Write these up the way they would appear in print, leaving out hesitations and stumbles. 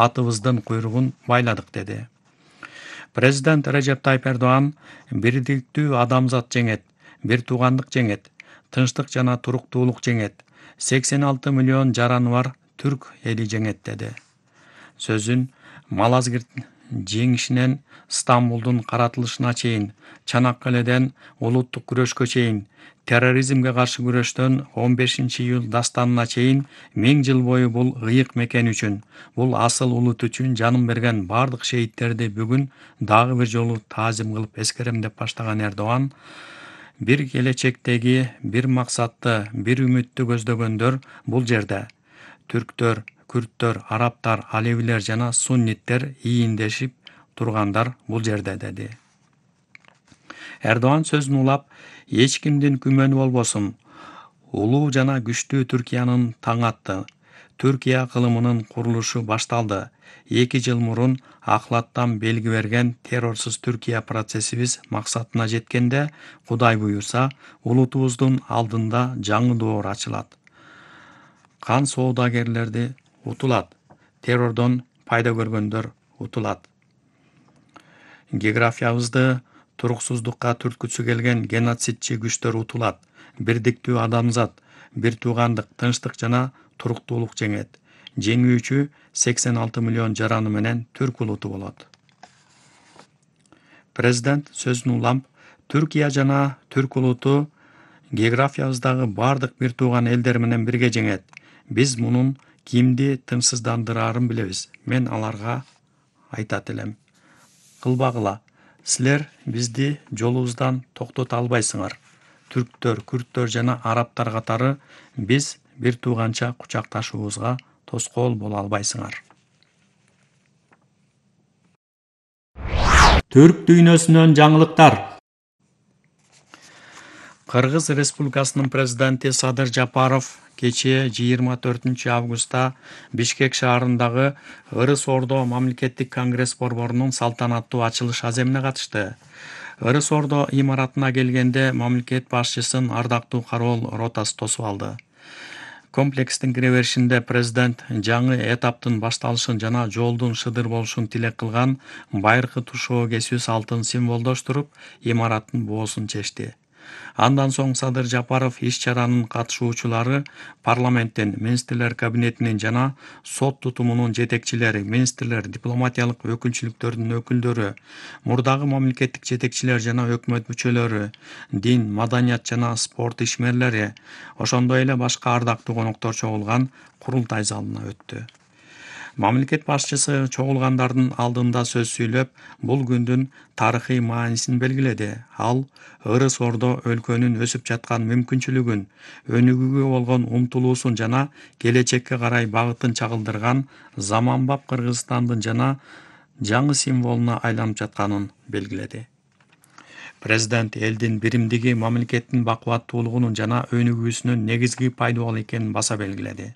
атыбыздын куйругун байладык деди. Президент Режеп Тайып Эрдоган бирдиктүү адамзат жеңет, бир туугандык жеңет, тынчтык жана туруктуулук жеңет, 86 миллион жараны бар түрк эли жеңет деди. Сөзүн Малазгирт жеңишинен Стамбулдун каратылышына чейин, Чанаккаледен улуттук күрөшкө чейин, терроризмге каршы күрөштөн 15-июл дастанына чейин 1000 жыл бою бул ыйык мекен үчүн, бул асыл улут үчүн жанын берген бардык шейттерди бүгүн дагы бир жолу таазим кылып эскерем деп баштаган Эрдоган, бир келечектеги, бир максатты, бир үмүттү көздөгөндөр бул жерде түрктөр, күрттөр, арабтар, алевилер жана сунниттер ийиндешип тургандар бул жерде деди. Эрдоган сөзүн улап, эч кимдин күмөнү болбосун, улуу жана күчтүү Түркиянын таң атты. Түркия кылымынын курулушу башталды. 2 жыл мурун Ахлаттан белги берген террорсуз Түркия процессибиз максатына жеткенде, Кудай буйрса, улутубуздун алдында жаңы доор ачылат. Кан соодагерлерди утулат, террордон пайда көргөндөр утулат. Географиябызды туруксуздукка түрткүсү келген геноцидчи күчтөр утулат. Бирдиктүү адамзат, бир туугандык, тынчтык жана туруктуулук жеңет. Жеңүүчү 86 миллион жараны менен түрк улуту болот. Президент сөзүн улам, Түркия жана түрк улуту географиябыздагы бардык бир тууган элдер менен бирге жеңет. Биз мунун кимди тынчсыздандырарын билебиз. Мен аларга айтат элем. Кылбагыла, силер бизди жолубуздан токтото албайсыңар. Түрктөр, күрттөр жана арабтар катары биз бир тууганча кучакташуубузга тоскоол боло албайсыңар. Түрк дүйнөсүнөн жаңылыктар. Кыргыз Республикасынын президенти Садыр Жапаров кечээ 24 августта Бишкек шаарындагы Ырыс Ордо мамлекеттик конгресс борборунун салтанаттуу ачылыш аземине катышты. Ырыс Ордо имаратына келгенде мамлекет башчысын ардактуу кароол ротасы тосуп алды. Комплекстин кире беришинде президент жаңы этаптын башталышын жана жолдун шыдыр болушун тилек кылган байыркы тушоо кесүү салтын символдоштуруп, имараттын боосун чечти. Андан соң Садыр Жапаров иш-чаранын катышуучулары парламенттин, министрлер кабинетинин жана сот тутумунун жетекчилери, министрлер, дипломатиялык өкүлчүлүктөрдүн өкүлдөрү, мурдагы мамлекеттик жетекчилер жана өкмөт мүчөлөрү, дин, маданият жана спорт ишмерлери, ошондой эле башка ардактуу коноктор чогулган курултай залына өттү. Мамлекет башчысы чогулгандардын алдында сөз сүйлөп, бул күндүн тарыхый маанисин белгиледи. Ал Ырыс Ордо өлкөнүн өсүп жаткан мүмкүнчүлүгүн, өнүгүүгө болгон умтулуусун жана келечекке карай багытын чагылдырган заманбап Кыргызстандын жана жаңы символуна айланып жатканын белгиледи. Президент элдин биримдиги мамлекеттин бакубаттуулугунун жана өнүгүүсүнүн негизги пайдубал экенин баса белгиледи.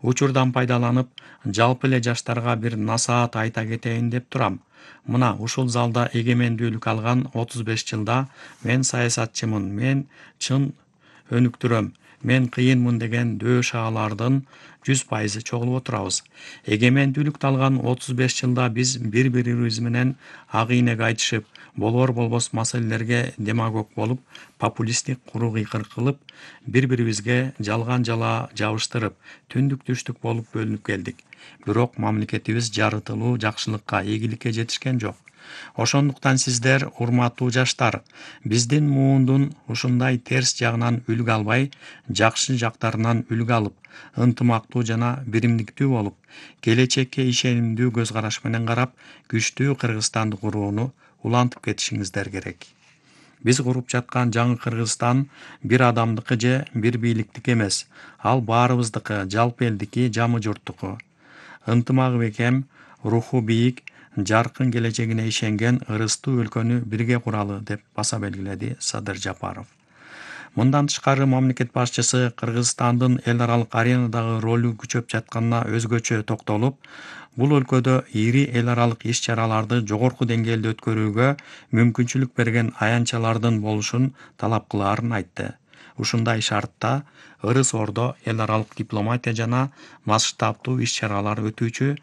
Учурдан пайдаланып, жалпы эле жаштарга бир насаат айта кетейин деп турам. Мына ушул залда эгемендүүлүк алган 35 жылда мен саясатчымын, мен чын өнүктүрөм, мен кыйынмын деген дөөш аалардын 100% чогулуп отурабыз. Эгемендүүлүктү алган 35 жылда биз бири-бирибиз менен ак ийнек айтышып, болбос маселелерге демагог болуп, популисттик куру кыйкыр кылып, бири-бирибизге жалган жала жабыштырып, түндүк-түштүк болуп бөлүнүп келдик. Бирок мамлекетибиз жарытылуу жакшылыкка, ийгиликке жетишкен жок. Ошондуктан сиздер, урматтуу жаштар, биздин муундун ушундай терс жагынан үлгү албай, жакшы жактарынан үлгү алып, ынтымактуу жана биримдиктүү болуп, келечекке ишенимдүү көз караш менен карап, күчтүү Кыргызстанды курууну улантып кетишиңиздер керек. Биз куруп жаткан жаңы Кыргызстан бир адамдыкы же бир бийликтики эмес. Ал баарыбыздыкы, жалпы элдики, жамы журттуку. Ынтымагы бекем, руху бийик, жаркын келечегине ишенген ырыстуу өлкөнү бирге куралы деп баса белгиледи Садыр Жапаров. Мындан тышкары мамлекет башчысы Кыргызстандын эл аралык аренадагы ролу күчөп жатканына өзгөчө токтолуп, бул өлкөдө ири эл аралык иш-чараларды жогорку деңгээлде өткөрүүгө мүмкүнчүлүк берген аянтчалардын болушун талап кылаарын айтты. Ушундай шартта Ырыс Ордо эл аралык дипломатия жана масштабтуу иш-чаралар өтүүчү